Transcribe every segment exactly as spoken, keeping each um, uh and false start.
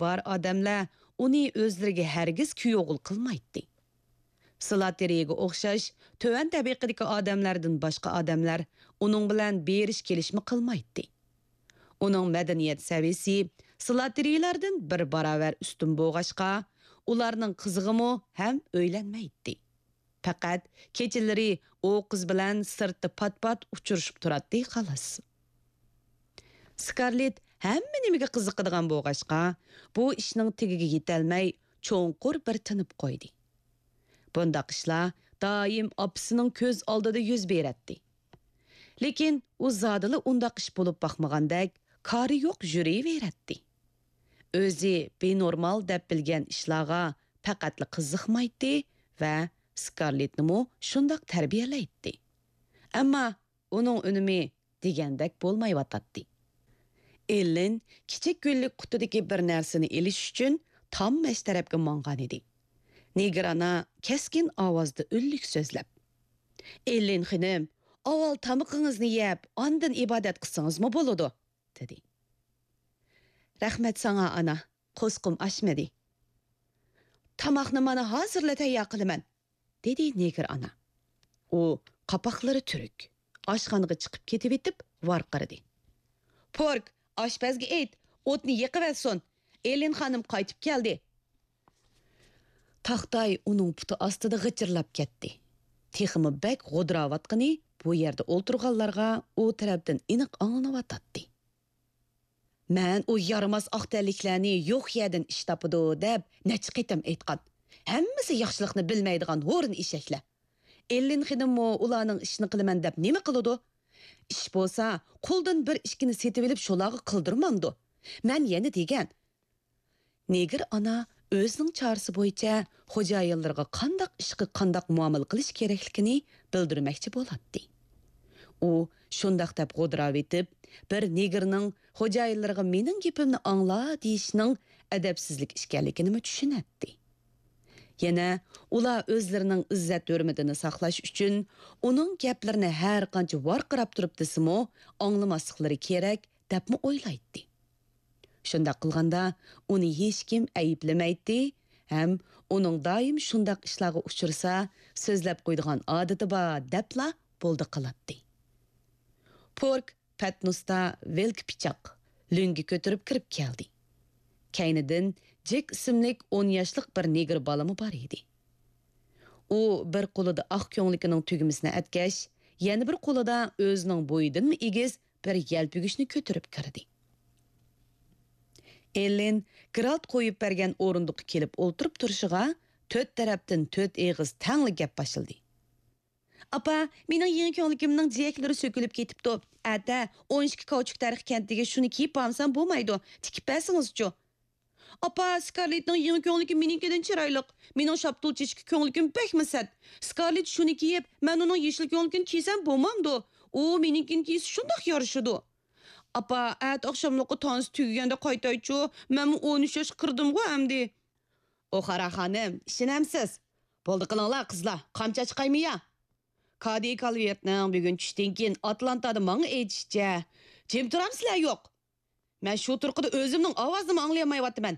بار ئادەملەر ئۇنى ئۆزلىرىگە ھەرگىز كۈيئوغۇل قىلمايتتى. سلاتېرىگە ئوخشاش تۆۋەن تەبىقىدىكى ئادەملەردىن باشقا ئادەملەر ئۇنىڭ بىلەن بېرىش-كېلىشمۇ قىلمايتتى. ئۇنىڭ مەدەنىيەت سەۋىيىسى سلاتېرىلاردىن بىر باراۋەر ئۈستۈن بولغاچقا، ئۇلارنىڭ قىزىغىمۇ ھەم ئۆيلەنمەيتتى. پەقەت كېچىلىرى ئۇ قىز بىلەن سىرتتا پات-پات ئۇچرىشىپ تۇراتتى، خالاس. سكارلېت ھەممە نېمىگە قىزىقىدىغان بولغاچقا، بۇ ئىشنىڭ تېگىگە يېتەلمەي، چوڭقۇر بىر تىنىپ قويدى. بۇنداق ئىشلار دائىم ئاپىسىنىڭ كۆز ئالدىدا يۈز بېرەتتى. لېكىن ئۇ زادىلا ئۇنداق ئىش بولۇپ باقمىغاندەك، كارى يوق يۈرۈۋېرەتتى. ئۆزى بىنورمال دەپ بىلگەن ئىشلارغا پەقەتلا قىزىقمايتتى ۋە سكارلېتنىمۇ شۇنداق تەربىيەلەيتتى. ئەمما ئۇنىڭ ئۈنۈمى دېگەندەك بولمايۋاتاتتى. ئېللىن كىچىك گۈللۈك قۇتىدىكى بىر نەرسىنى ئېلىش ئۈچۈن تام مەش تەرەپكە ماڭغانىدى. نېگىر ئانا كەسكىن ئاۋازدا ئۈنلۈك سۆزلەپ، «ئېللىن خېنىم، ئاۋۋال تامىقىڭىزنى يەپ، ئاندىن ئىبادەت قىلسىڭىزمۇ بولىدۇ» دېدى. «رەھمەت ساڭا، ئانا، قورسىقىم ئاچمىدى.» «تاماقنى مانا ھازىرلا تەييار قىلىمەن.» دېدى نېگىر ئانا. ئۇ قاپاقلىرى تۈرۈك، ئاشخانىغا چىقىپ كېتىۋېتىپ ۋارقىرىدى. «پورك، ئاشپەزگە ئېيت، ئوتنى يېقىۋەتسۇن. ئېلىن خانىم قايتىپ كەلدى.» تاختاي ئۇنىڭ پۇتى ئاستىدا غىچىرلاپ كەتتى. تېخىمۇ بەك غودراۋاتقىنى بۇ يەردە ئولتۇرغانلارغا ئۇ تەرەپتىن ئېنىق ئاڭلىنىۋاتاتتى. «مەن ئۇ يارىماس ئاق تەنلىكلەرنى يوق يەردىن ئىش تاپىدۇ دەپ نەچچە قېتىم ئېيتقان. ھەممىسى ياخشىلىقنى بىلمەيدىغان ھورۇن ئېشەكلەر. ئېللىن خېنىممۇ ئۇلارنىڭ ئىشىنى قىلىمەن دەپ نېمە قىلىدۇ؟ ئىش بولسا، قۇلدىن بىر ئىككىنى سېتىۋېلىپ شۇلارغا قىلدۇرمامدۇ؟ مەن يەنە دېگەن.» نېگىر ئانا ئۆزىنىڭ چارىسى بويىچە خوجايىنلىرىغا قانداق ئىشقا قانداق مۇئامىلە قىلىش كېرەكلىكىنى بىلدۈرمەكچى بولاتتى. ئۇ شۇنداق دەپ غودراۋېتىپ، بىر نېگىرنىڭ خوجايىنلىرىغا «مېنىڭ گېپىمنى ئاڭلا» دېيىشىنىڭ ئەدەپسىزلىك ئىكەنلىكىنىمۇ چۈشىنەتتى. يەنە ئۇلار ئۆزلىرىنىڭ ئىززەت-ھۆرمىتىنى ساقلاش ئۈچۈن ئۇنىڭ گەپلىرىنى ھەرقانچە ۋارقىراپ تۇرۇپ دېسىمۇ ئاڭلىماسلىقلىرى كېرەك، دەپمۇ ئويلايتتى. شۇنداق قىلغاندا، ئۇنى ھېچكىم ئەيىبلىمەيتتى ھەم ئۇنىڭ دائىم شۇنداق ئىشلارغا ئۇچرىسا، سۆزلەپ قويىدىغان ئادىتى بار دەپلا بولدى قىلاتتى. پورك پەتنۇستا ۋىلكە پىچاق، لۆڭگە كۆتۈرۈپ كىرىپ كەلدى. كەينىدىن جېك ئىسىملىك ئون ياشلىق بىر نېگىر بالىمۇ بار ئىدى. ئۇ بىر قولىدا ئاق كۆڭلىكىنىڭ تۈگمىسىنى ئەتكەچ، يەنە بىر قولىدا ئۆزىنىڭ بويىدىنمۇ ئېگىز بىر يەلپۈگۈچنى كۆتۈرۈپ كىردى. ئېللىن گرالت قويۇپ بەرگەن ئورۇندۇققا كېلىپ ئولتۇرۇپ تۇرۇشىغا، تۆت تەرەپتىن تۆت ئېغىز تەڭلا گەپ باشلىدى. «ئاپا، مېنىڭ يېڭى كۆڭلىكىمنىڭ جىيەكلىرى سۆكۈلۈپ كېتىپتۇ. ئەتە ئون ئىككى كاۋچۇك تەرىخى كەنتىگە شۇنى كىيىپ بارمىسام بولمايدۇ. تىكىپ بەرسىڭىزچۇ؟» «ئاپا، سكارلېتنىڭ يېڭى كۆڭلىكى مېنىڭكىدىن چىرايلىق. مېنىڭ شاپتۇل چېچىكى كۆڭلىكىم بەكمۇ سەت. سكارلېت شۇنى كىيىپ، مەن ئۇنىڭ يېشىل كۆڭلىكىنى كىيسەم بولمامدۇ؟ ئۇ مېنىڭكىنى كىيسە شۇنداق يارىشىدۇ. ئاپا، ئەتە ئاخشاملىققا تانسا تۈگىگەندە قايتايچۇ، مەنمۇ ئون ئۈچ ياشقا كىردىمغۇ ئەمدى.» «ئوخارا خانىم، ئىشىنەمسىز؟ بولدى قىلىڭلار، قىزلار، قامچا چىقايمۇ يا؟ كادى كالۋېرتنىڭ بۈگۈن چۈشتىن كېيىن ئاتلانتادا ماڭا ئېيتىشىچە، جىم تۇرامسىلەر يوق؟ مەن شۇ تۇرقىدا ئۆزۈمنىڭ ئاۋازىنىمۇ ئاڭلىيالمايۋاتىمەن.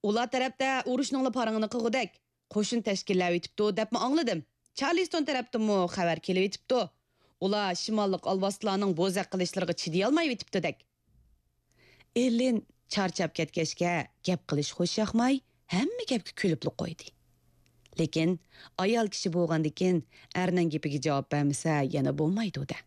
ئۇلار تەرەپتە ئۇرۇشنىڭلا پارىڭىنى قىلغۇدەك قوشۇن تەشكىللەۋېتىپتۇ دەپمۇ ئاڭلىدىم. چارلىستون تەرەپتىنمۇ خەۋەر كېلىۋېتىپتۇ. ئۇلار شىماللىق ئالۋاستىلارنىڭ بوزەك قىلىشلىرىغا چىدىيالمايۋېتىپتۇدەك.» ئېللىن چارچاپ كەتكەچكە گەپ قىلىش خۇش ياقماي، ھەممە گەپكە كۈلۈپلا قويدى. لېكىن ئايال كىشى بولغاندىكىن ئەرنىڭ گېپىگە جاۋاب بەرمىسە يەنە بولمايدۇ-دە.